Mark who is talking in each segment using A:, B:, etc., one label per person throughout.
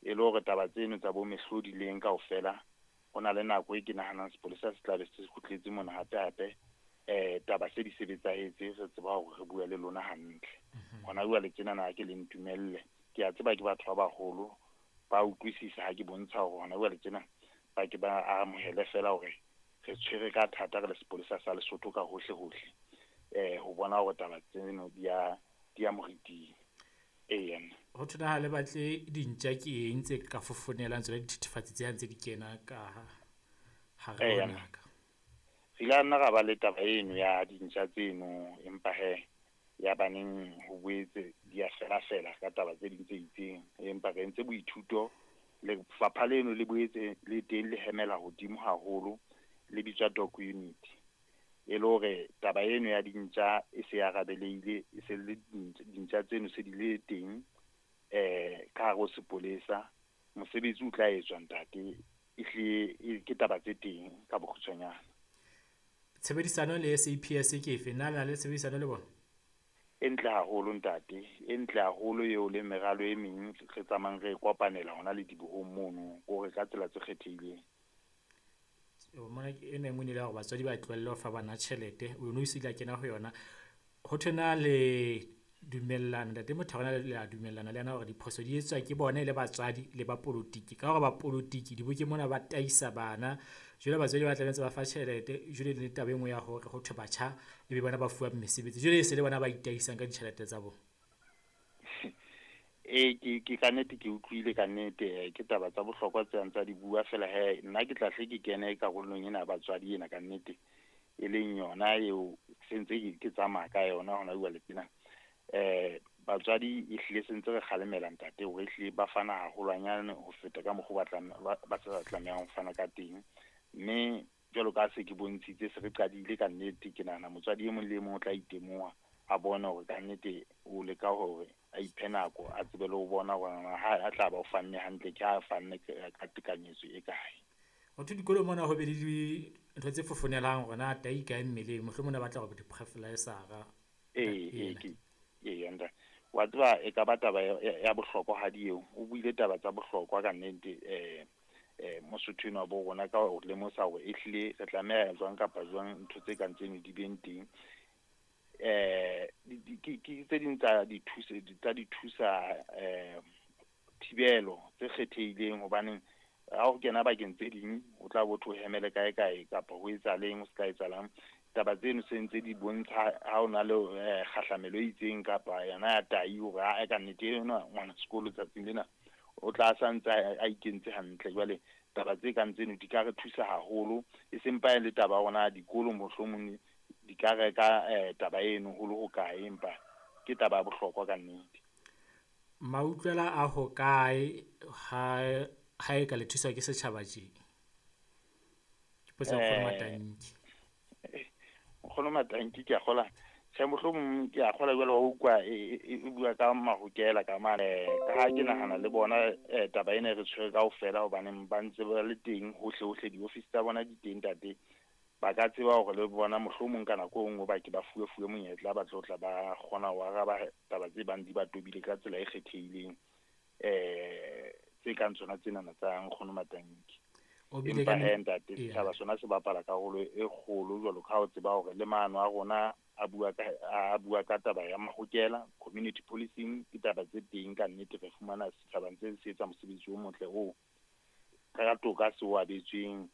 A: E le hore taba tseno tsa bo mehlodi le eng kaofela, ho na le nako e ke nahanang sepolesa se tla be se kgutletse mona hape hape. Taba se di sebetsahetse, re tseba hore re bua le lona hantle. Hona jwale tjenana ha ke le ntumelle. Ke a tseba ke batho ba baholo, ba utlwisisa ha ke bontsha hore hona jwale tjena ba ke ba amohele fela hore re tshwere ka thata re le sepolesa sa Lesotho ka hohle hohle. Ho bona hore taba tseno di ya moriting. Eya.
B: Ho thona ha le batle dintja ke eng tse ka fofonelang tsona dithethefatsi tse ha ntse di kena ka hare ho
A: Eya.
B: naka?
A: Re ile nna ra ba le taba eno ya dintja tseno, empa he ya baneng ho boetse di a fela fela ka taba tse ding tse itseng. Empa re entse boithuto, lefapha leno le boetse le teng le hemela hodimo haholo, le bitswa dog unit. E le hore taba eno ya dintja e se arabeleile, e se le dintja tseno se di le teng ka hare ho sepolesa. Mosebetsi o tla etswa ntate, ehlile ke taba tse teng ka bokgutshwanyane.
B: Tshebedisano le SAPS ke efe? Na le na le tshebedisano le bona?
A: E ntle haholo ntate, e ntle haholo eo le meralo e meng re tsamayang re kopanela hona le dibohong mono, kore ka tsela tse kgethehileng.
B: Mona ena e nngwe e ne le ya hore batswadi ba tlohelle ho fa bana tjhelete, o no se ile a kena ho yona. Ho thwe na le dumellana, ntate Mothabane le a dumellana le yena hore diphoso di etswa ke bona e le batswadi le ba polotiki. Ka hore ba polotiki dibokeng mona ba taisa bana, jwale batswadi ba tla be ntse ba fa tjhelete. Jwale le taba e nngwe ya hore ho thwe batjha e be bona ba fuwang mesebetsi, jwale e se le bona ba itaisang ka ditjhelete tsa bona.
A: Ee, ke ka nnete ke utlwile ka nnete, ke taba tsa bohlokwa tse ntsa di bua fela he nna ke tla hle ke kene karolong ena ya batswadi ena ka nnete, e leng yona eo sentse ke tsamaya ka yona hona jwale tjena. Batswadi ehlile sentse re kgalemela ntate hore ehlile ba fana haholwanyane ho feta ka mokgwa ba sa tlamehang ho fana ka teng. Mme jwalo ka se ke bontshitse, se re qadile ka nnete, ke nahana motswadi e mong le e mong o tla itemoha, a bone hore ka nnete o leka hore a iphe nako, a tsebe le ho bona hore ha a tla ba o fanne hantle, ke ha a fanne ka tekanyetso e kae.
B: Ho thwe dikolong mona ho be le dintho tse fofonelang hore na tai kae mmeleng, mohlomong ne batla hore di-breathalyzer-a.
A: Ee, ke ee ntate. Wa tseba e ka ba taba ya bohlokwahadi eo. O buile taba tsa bohlokwa ka nnete, Mosotho enwa bo rona ka ho lemosa hore ehlile re tlameha jwang kapa jwang ntho tse kang tseno di beng teng. Ke tse ding tsa dithusa thibelo tse kgethehileng, hobaneng ha o kena bakeng tse ding o tla bo thwe o hemele kae kae kapa ho etsahaleng, ho ska etsahalang. Taba tseno se ntse di bontsha ha o na le kgahlamelo e itseng kapa yona ya tai hore ha ka nnete enwa ngwana sekolo tsatsing lena o tla sa ntse a ikentse hantle. Jwale taba tse kang tseno di ka re thusa haholo, e seng pa e le taba ya rona dikolo mohlomong di ka reka taba eno ho le hokae, empa ke taba ya bohlokwa ka nnete.
B: Mautlwela a hokae ha e ka le thuswa ke setjhaba tje? Ke potso ya Nkgono Matanki.
A: Nkgono Matanki, ke a kgola. Tjhe, mohlomong ke a kgola jwale wa utlwa e bua ka mahokela ka mane, ka ha ke nahana le bona taba ena e re tshwere kaofela, hobaneng ba ntse ba le teng hohle hohle, di-office tsa bona di teng ntate. Ba ka tseba hore le bona mohlomong ka nako e nngwe ba ke ba fuwe fuwe monyetla, ba tlo tla ba kgona ho araba taba tse bang di ba tobile ka tsela e kgethehileng, tse kang tsona tsenana tsa Nkgono Matanki.
B: O bile
A: Empa
B: ka
A: he ntate,
B: Eya.
A: setjhaba sona se bapala karolo e kgolo jwalo ka ha o tseba hore le maano a rona a bua ka taba ya mahokela, community policing, ke taba tse teng ka nnete. Re fumana setjhaba ntse se etsa mosebetsi o motle oo ka toka se o abetsweng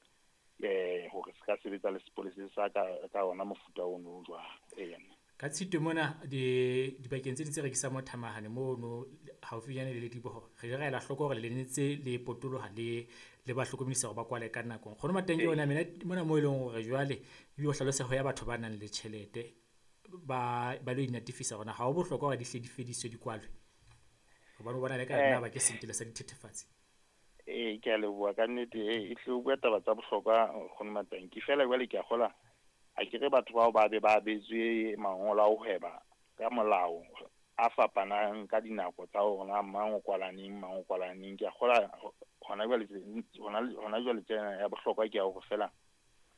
A: hore se ka sebetsa le sepolesa sa ka ona mofuta ono o jwalo. Eya.
B: Ka Tshitwe mona dibakeng tse ding tse rekisang mo thamahane mono haufinyane le Lediboho, re ile ra ela hloko hore le ntse le potoloha le ba hlokomedisa hore ba kwale ka nako. Nkgono Matanki ona mena mona moo e leng hore jwale ebile o hlaloseho ya batho ba nang le tjhelete ba lo inatefisa hore na ha ho bohlokwa hore di hle di fediswe di kwalwe, hobane o bona le ka nna ba ke sentele sa dithethefatsi.
A: Ee, ke a leboha ka nnete. E hle o bua taba tsa bohlokwa, Nkgono Matanki. Feela jwale ke a kgola ha ke re batho bao ba be ba abetswe mangolo a ho hweba ka molao a fapanang ka dinako tsa hore na mang o kwala neng, mang o kwala neng. Ke a kgola hona jwale tsena ya bohlokwa ke ya hore feela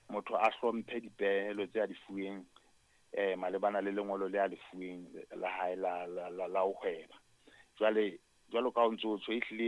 A: motho a hlomphe dipehelo tse a di fuweng malebana le lengolo le a le fuweng la hae la ho hweba. Jwale jwalo ka ha o ntso tjho, ehlile.